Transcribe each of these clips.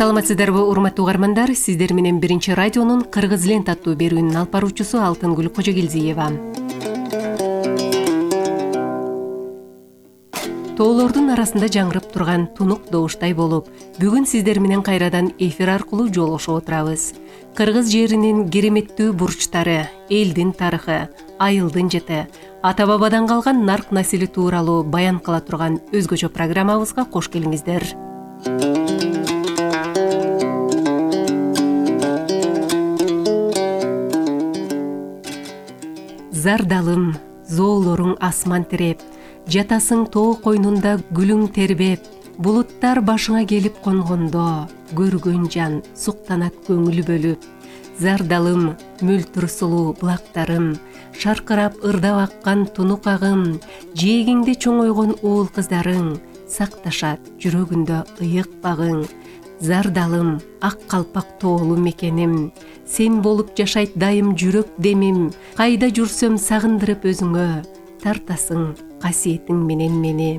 Саламатсыздарбы урматтуу угармандар, сиздер менен Биринчи радионун Кыргыз лента аттуу берүүнүн алып баруучусу Алтынгүл Кожогелдиева. Тоолордун арасында жаңырып турган тунук добуштай болуп, бүгүн сиздер менен кайрадан эфир аркылуу жолугушуп отурабыз. Кыргыз жеринин кереметтүү бурчтары, элдин тарыхы, айылдын жыты, ата-бабадан калган нарк насили тууралуу баян кыла турган өзгөчө программабызга кош келиңиздер. Зардалым, зоолоруң асман тиреп, жатасың тоо койнунда гүлүң тербеп, булуттар башыңа келип конгондо, көргөн жан суктанат көңүл бөлүп. Зардалым, мөлтүр сулуу булактарым, шаркырап ырдап аккан тунук агым, жээгиңде чоңойгон уул кыздарың, сакташат жүрөгүндө ыйык багың. Зардалым, ак калпак тоолу мекеним, сен болуп жашайт дайым жүрөк демим, кайда жүрсөм сагындырып өзүңө, тартасың касиетиң менен мени.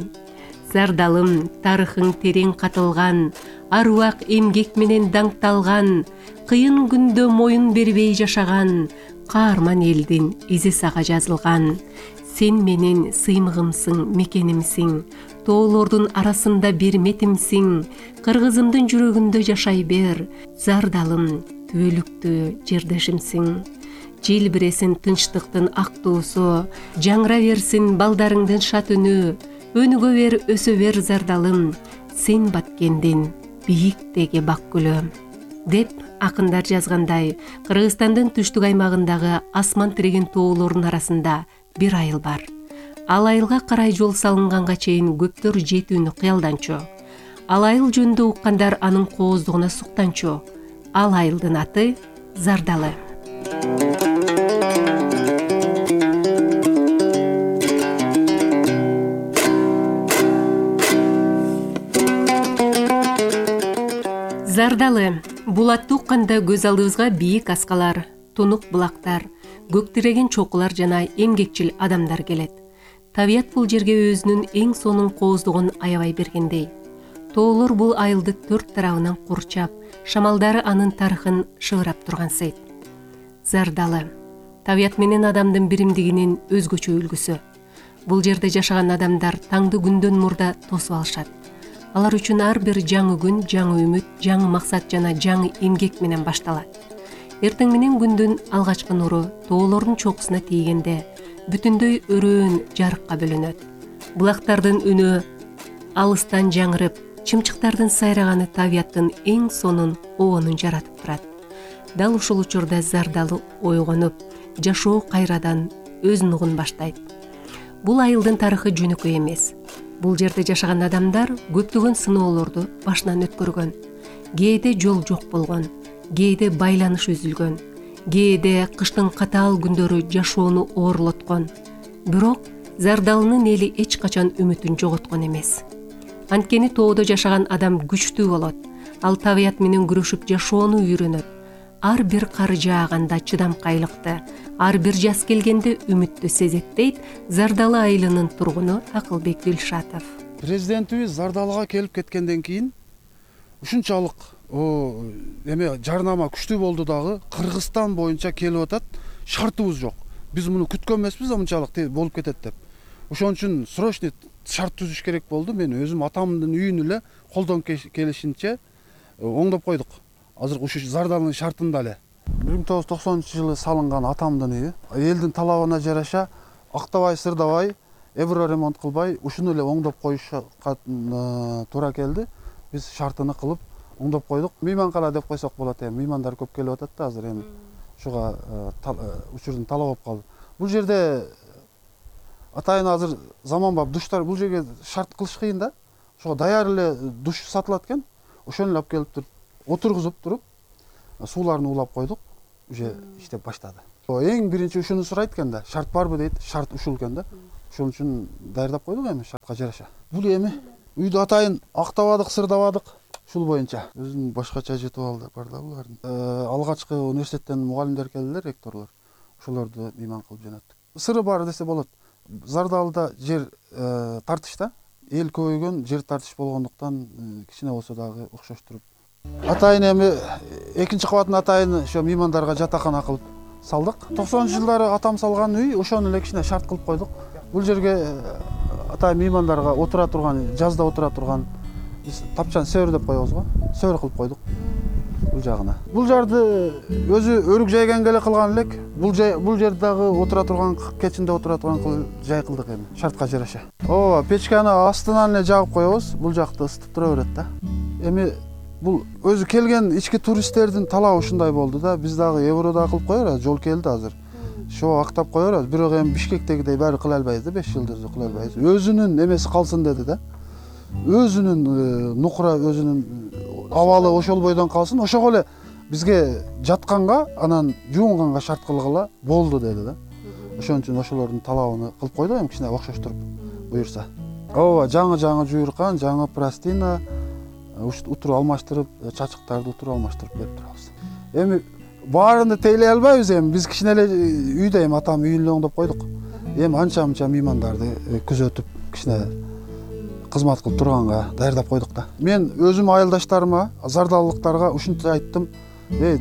Зардалым, тарыхың терең катылган, аруак эмгек менен даңкталган, кыйын күндө моюн бербей жашаган, каарман элдин изи сага жазылган. Сен менин сыймыгымсың, мекенимсиң, тоолордун арасында бир метимсиң, кыргызымдын жүрөгүндө жашай бер. Зардалым, түбөлүктүү жердешимсиң. Желбиресин тынчтыктын ак туусу, жаңыра берсин балдарыңдын шат үнү, өнүгө бер, өсө бер зардалым, сен баткендин бийиктеги бак гүлү. Деп акындар жазгандай, Кыргызстандын түштүк аймагындагы асман тиреген тоолордун арасында бир айыл бар. Ал айылга карай жол салынганга чейин көптөр жетүүнү кыялданчу. Ал айыл жөнүндө уккандар анын кооздугуна суктанчу. Ал айылдын аты Зардалы. Зардалы. Бул атты укканда көз алдыбызга бийик аскалар, тунук булактар, көк тиреген чокулар жана эмгекчил адамдар келет. Табият бул жерге өзүнүн эң сонун кооздугун аябай бергендей. Тоолор бул айылды төрт тарабынан курчап, шамалдары анын тарыхын шыгырап турган сейт. Зардалы. Табият менен адамдын биримдигинин өзгөчө үлгүсү. Бул жерде жашаган адамдар таңды күндөн мурда тосуп алышат. Алар үчүн ар бир жаңы күн, жаңы үмүт, жаңы максат жана жаңы эмгек менен башталат. Эртең менен күндүн алгачкы нуру тоолордун чокусуна тийгенде бүтүндөй өрөөн жарыкка бөлөнөт. Булактардын үнү алыстан жаңырып, чымчыктардын сайраганы табияттын эң сонун оонун жаратып турат. Дал ушул учурда Зардалы ойгонуп, жашоо кайрадан өз нугун баштайт. Бул айылдын тарыхы жөнөкөй эмес. Бул жерде жашаган адамдар көптөгөн сыноолорду башынан өткөргөн. Кээде жол жок болгон, кээде байланыш үзүлгөн, кээде кыштын катаал күндөрү жашоону оорлоткон. Бирок Зардалынын эли эч качан үмүтүн жоготкон эмес. Анткени тоодо жашаган адам күчтүү болот. Ал табият менен күрөшүп жашоону үйрөнөт. Ар бир кар жааганда чыдамкайлыкты, ар бир жаз келгенде үмүттү сезет, дейт Зардалы айылынын тургуну Акылбек Дилшатов. Президентибиз Зардалыга келип кеткенден кийин ушунчалык жарнама күчтүү болду дагы, Кыргызстан боюнча келип атат, шартыбыз жок. Биз муну күткөн эмеспиз, мынчалык болуп кетет деп. Ошон үчүн срочный шарт түзүш керек болду. Мен өзүм атамдын үйүн эле колдон келишинче оңдоп койдук. Азыр ушу Зардалынын шартында эле 1990-жылы салынган атамдын үйү. Элдин талабына жараша актабай, сырдабай, эбро ремонт кылбай ушуну эле оңдоп коюшка туура келди. Биз шартыны кылып оңдоп койдук. Мейманкана деп койсок болот. Меймандар көп келип атат да азыр ушуга учурдун талап болуп калды. Бул жерде атайын азыр заманбап душтар, бул жерге шарт кылыш кыйын да. Ошого даяр эле душ сатылат экен. Ошону эле алып келип туруп отургузуп туруп сууларын улап койдук. Уже иштеп баштады. Эң биринчи ушуну сурайт экен да. Шарт барбы дейт. Шарт ушул экен да. Ошон үчүн даярдап койдук шартка жараша. Бул үйдү атайын актабадык, сырдабадык. Ушул боюнча өзүнүн башкача жетип бар да булардын. Алгачкы университеттен мугалимдер келдилер, ректорлор. Ошолорду мейман кылып жөнөттүк. Сыры бар десе болот. Зардалыда жер тартышта. Эл көбөйгөн, жер тартыш болгондуктан кичине болсо дагы окшоштуруп Атайын эми экинчи кабатын атайын ошо меймандарга жатакана кылып салдык. 90-жылдары атам салган үй, ошону эле кичине шарт кылып койдук. Бул жерге атайын меймандарга отура турган, жазда отура турган тапчан сөр деп коебуз го. Сөр кылып койдук бул жагына. Бул жарды өзү өрүк жайган эле кылган элек. Бул жер дагы отура турган, кечинде отура турган жай кылдык эми, шартка жараша. Ооба, печканы астынан эле жагып коебуз. Бул жакты ысытып тура берет да. Эми бул өзү келген ички туристтердин талабы ушундай болду да. Биз дагы еврода кылып коебуз, жол келди азыр. Шо актап коебуз, бирок эми Бишкектегидей баары кыла албайбыз да, 5 жылдыр кыла албайбыз. Өзүнүн эмеси калсын деди да. Өзүнүн нукура, өзүнүн абалы ошол бойдон калсын, ошого эле бизге жатканга, анан жуунганга шарт кылгыла болду деди да. Ошон үчүн ошолордун талабын кылып койдук, эми кичине окшоштуруп буюрса. Ооба, жаңы жуйркан, жаңы пластина, утур алмаштырып, чачыктарды утур алмаштырып берип турабыз. Эми баарында тейлей албайбыз эми, биз кичине эле үйдө эми атам үйүн эле оңдоп койдук. Эми анча-мынча меймандарды күзөтүп, кичине кызмат кылып турганга даярдап койдук да. Мен өзүм айылдаштарыма, зардалылыктарга ушинче айттым.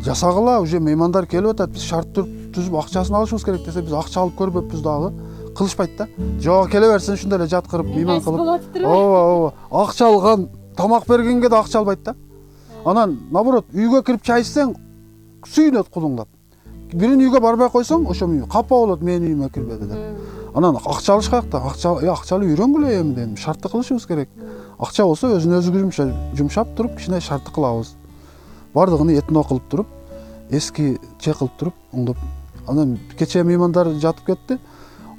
Жасагыла, уже меймандар келип атат, биз шарт түзүп акчасын алышыбыз керек десе, биз акча алып көрбөппүз дагы. Кылышпайт да. Жок, келе берсин, ушундай эле жаткырып, мейман кылып. Ооба. Акча алган, тамак бергенге да акча албайт да. Анан наоборот, үйгө кирип чай ичсең, сүйүнөт кулуңдап. Биринин үйгө барбай койсоң, ошо капа болот, менин үйүмө кирбеди деп. Анан акча алышкак да, акчалы үйрөнгүлө эми дедим. Шартты кылышыбыз керек. Акча болсо өзүн жумшап туруп, кичине шартты кылабыз. Бардыгын этно кылып туруп, эски чек кылып туруп, оңдоп. Анан кече меймандар жатып кетти.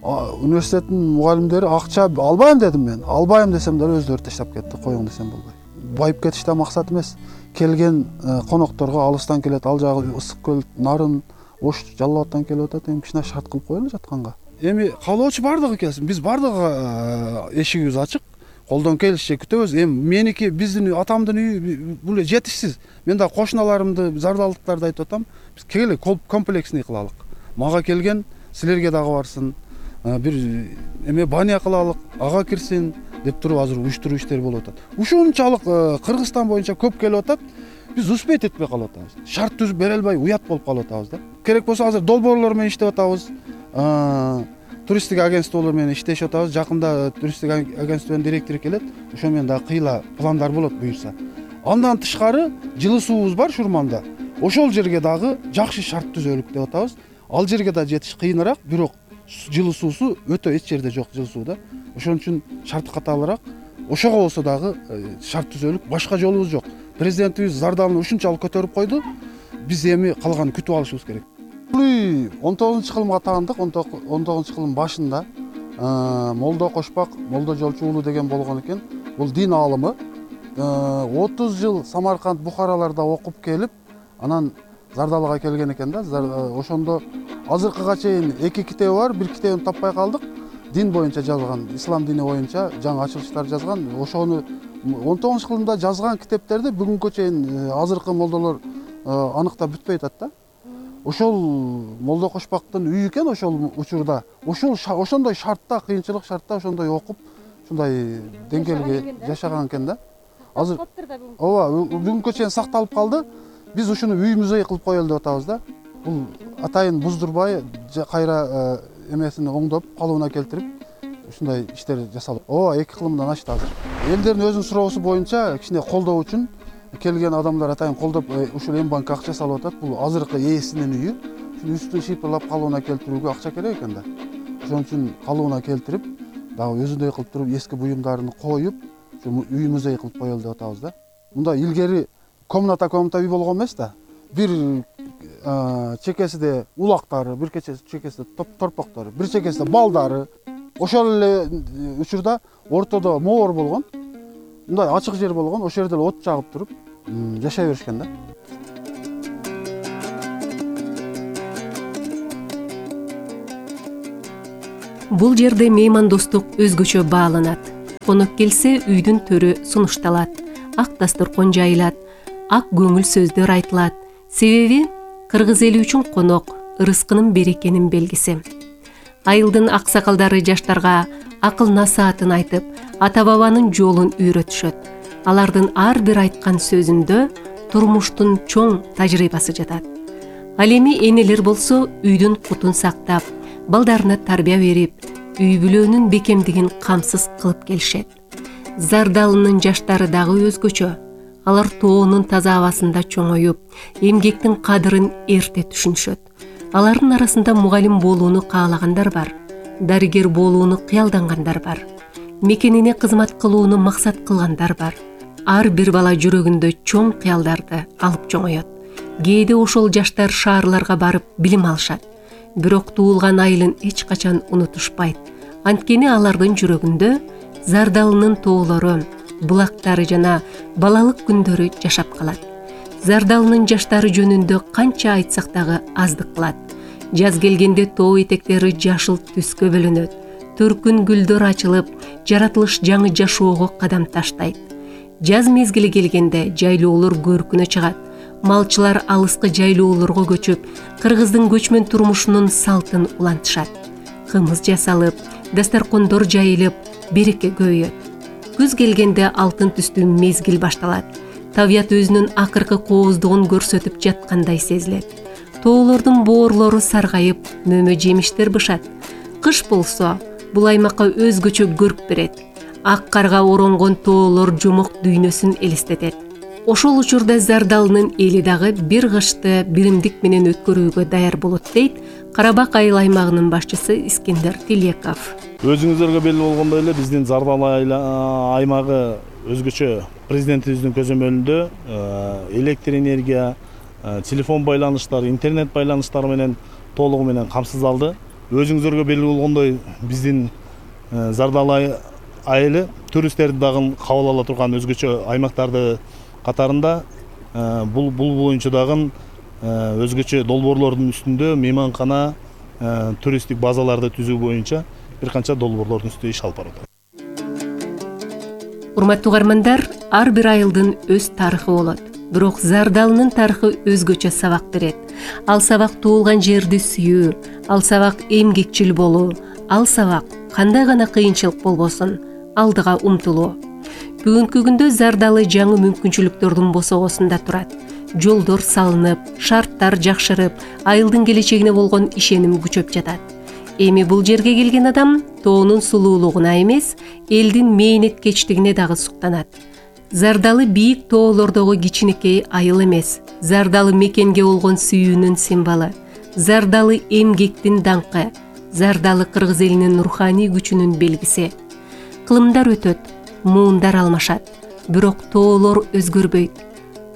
Университеттин мугалимдери акча албайм дедим мен. Албайм десем дагы өздөрү таштап кетти, коюң десем болбой. Байып кетиш да максат эмес. Келген конокторго алыстан келет, ал жагы ысык көл, нарын, Ош, Жалал Абадтан келип атат, эми кичине шарт кылып коелу жатканга. Эми каалоочу бардыгы келсин. Биз бардыгы эшигибиз ачык. Колдон келишче күтөбүз. Эми меники, биздин атамдын үйү бул жетишсиз. Мен да кошуналарымды, зардалдыктарды айтып атам. Биз келе комплексный кылалык. Мага келген, силерге дагы барсын. Бир эме баня кылалык, ага кирсин деп туруп азыр уюштуруу иштери болуп атат. Ушунчалык Кыргызстан боюнча көп келип атат. Биз успеть этпей калып атабыз. Шарт түзүп бере албай уят болуп калып атабыз да. Керек болсо азыр долбоорлор менен иштеп атабыз. Туристтик агентстволор менен иштешип атабыз. Жакында туристтик агентствонун директору келет. Ошо менен дагы кыйла пландар болот буюрса. Андан тышкары жылуу суубуз бар Шурманда. Ошол жерге дагы жакшы шарт түзөлүк деп атабыз. Ал жерге да жетиш кыйыныраак, бирок жылуу суусу өтө эч жерде жок жылуу суу да. Ошон үчүн шарты катаалыраак. Ошого болсо дагы шарт түзөлүк, башка жолубуз жок. Президентибиз зардалын ушунчалык көтөрүп койду. Биз эми калганын күтүп алышыбыз керек. Бул үй 19-кылымга таандык. 19-кылым башында Молдо Кошпак, Молдо Жолчу уулу деген болгон экен. Бул дин аалымы. 30 жыл Самарканд, Бухараларда окуп келип, анан Зардалыга келген экен да. Ошондо азыркыга чейин 2 китеби бар, 1 китебин таппай калдык. Дин боюнча жазган, ислам дини боюнча жаңы ачылыштар жазган. Ошону 19-кылымда жазган китептерди бүгүнкү чейин азыркы молдолор аныктап бүтпөй атат да. Ошол Молдо Кошпактын үйү экен ошол учурда. Ошондой шартта, кыйынчылык шартта ошондой окуп, ушундай деңгээлге жашаган экен да. Азыр ооба, бүгүнкү чейин сакталып калды. Биз ушуну үй музей кылып коелу деп атабыз да. Бул атайын буздурбай, кайра эмесин оңдоп, калыбына келтирип, ушундай иштер жасалып. Ооба, 2 кылымдан ашты азыр. Элдердин өзүнүн суроосу боюнча кичине колдоо үчүн келген адамдар атайын колдоп, ушул эм банкка акча салып атат. Бул азыркы ээсинин үйү. Ушуну үстүн шипрлап калыбына келтирүүгө акча керек экен да. Ошон үчүн калыбына келтирип, дагы өзүндөй кылып туруп, эски буюмдарын коюп, үй музей кылып коелу деп атабыз да. Мында илгери комната үй болгон эмес да. Бир чекесиде улактары, бир чекесиде торпоктор, бир чекесиде балдары. Ошол эле учурда ортодо моор болгон. Мындай ачык жер болгон, ошол жерде от жагып туруп жашай беришкен да. Бул жерде меймандостук өзгөчө бааланат. Конок келсе үйдүн төрү сунушталат, ак дасторкон жайылат, ак көңүл сөздөр айтылат. Себеби кыргыз эли үчүн конок ырыскынын берекенин белгиси. Айылдын аксакалдары жаштарга акыл насаатын айтып, ата бабанын жолун үйрөтүшөт. Алардын ар бир айткан сөзүндө турмуштун чоң тажрыйбасы жатат. Ал эми энелер болсо үйдүн кутун сактап, балдарына тарбия берип, үй бүлөнүн бекемдигин камсыз кылып келишет. Зардалынын жаштары дагы өзгөчө. Алар тоонун таза абасында чоңоюп, эмгектин кадырын эрте түшүнүшөт. Алардын арасында мугалим болууну каалагандар бар, дарыгер болууну кыялдангандар бар, мекенине кызмат кылууну максат кылгандар бар. Ар бир бала жүрөгүндө чоң кыялдарды алып чоңоет. Кээде ошол жаштар шаарларга барып билим алышат. Бирок туулган айылын эч качан унутушпайт. Анткени алардын жүрөгүндө Зардалынын тоолору, булактары жана балалык күндөрү жашап калат. Зардалынын жаштары жөнүндө канча айтсак дагы аздык кылат. Жаз келгенде тоо этектери жашыл түскө бөлөнөт. Төркүн гүлдөр ачылып, жаратылыш жаңы жашоого кадам таштайт. Жаз мезгили келгенде жайлоолор көркүнө чыгат. Малчылар алыскы жайлоолорго көчүп, кыргыздын көчмөн турмушунун салтын улантышат. Кымыз жасалып, дастаркондор жайылып, береке көбөйөт. Күз келгенде алтын түстүү мезгил башталат. Табият өзүнүн акыркы кооздугун көрсөтүп жаткандай сезилет. Тоолордун боорлору саргайып, мөмө жемиштер бышат. Кыш болсо, бул аймакка өзгөчө көрк берет. Ак карга оронгон тоолор жомок дүйнөсүн элестетет. Ошол учурда Зардалынын эли дагы бир кышты биримдик менен өткөрүүгө даяр болот дейт Карабак айыл аймагынын башчысы Искендер Тилеков. Өзүңүздөргө белгилүү болгондой эле биздин Зардалы аймагы өзгөчө президентибиздин көзөмөлүндө электр энергия, телефон байланыштары, интернет байланыштары менен толугу менен камсыздалды. Өзүңүздөргө белгилүү болгондой биздин Зардалы айылы туристтерди дагы кабыл ала турган өзгөчө аймактарды катарында бул боюнча дагы өзгөчө долбоорлордун үстүндө мейманкана, туристтик базаларды түзүү боюнча бир канча долбоорлордун үстүндө иш алып барат. Урматтуу угармандар, ар бир айылдын өз тарыхы болот. Бирок Зардалынын тарыхы өзгөчө сабак берет. Ал сабак туулган жерди сүйүү, ал сабак эмгекчил болуу, ал сабак кандай гана кыйынчылык болбосун, алдыга умтулуу. Бүгүнкү күндө Зардалы жаңы мүмкүнчүлүктөрдүн босогосунда турат. Жолдор салынып, шарттар жакшырып, айылдын келечегине болгон ишеним күчөп жатат. Эми бул жерге келген адам тоонун сулуулугуна эмес, элдин мээнеткечтигине дагы суктанат. Зардалы бийик тоолордогу кичинекей айыл эмес, Зардалы мекенге болгон сүйүүнүн символу, Зардалы эмгектин даңкы, Зардалы кыргыз элинин руханий күчүнүн белгиси. Кылымдар өтөт, муундар алмашат, бирок тоолор өзгөрбөйт.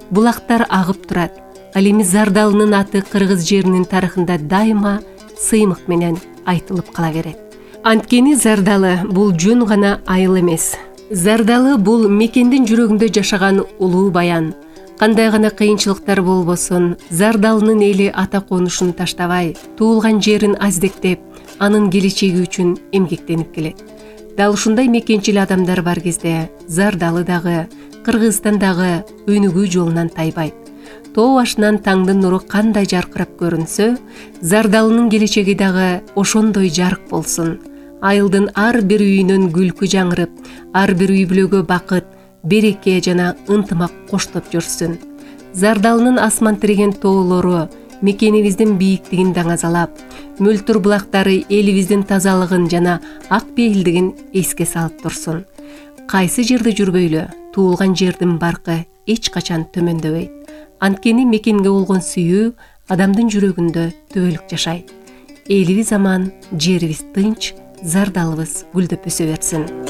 Булактар агып турат. Ал эми Зардалынын аты кыргыз жеринин тарыхында дайыма сыймык менен айтылып кала берет. Анткени Зардалы бул жөн гана айыл эмес. Зардалы бул мекендин жүрөгүндө жашаган улуу баян. Кандай гана кыйынчылыктар болбосун, Зардалынын эли ата конушун таштабай, туулган жерин аздектеп, анын келечеги үчүн эмгектенип келет. Дал ушундай мекенчил адамдар бар кезде Зардалы дагы, Кыргызстан дагы өнүгүү жолунан тайбайт. Тоо башынан таңдын нуру кандай жаркырап көрүнсө, Зардалынын келечеги дагы ошондой жарык болсун. Айылдын ар бир үйүнөн күлкү жаңырып, ар бир үй бүлөгө бакыт, береке жана ынтымак коштоп жүрсүн. Зардалынын асман тиреген тоолору мекенибиздин бийиктигин даңазалап, мөлтүр булактары элибиздин тазалыгын жана ак пейилдигин эске салып турсун. Кайсы жерде жүрбөйлү, туулган жердин баркы эч качан төмөндөбөйт. Анткени мекенге болгон сүйүү адамдын жүрөгүндө түбөлүк жашайт. Элибиз аман, жерибиз тынч, Зардалыбыз гүлдөп өсө берсин.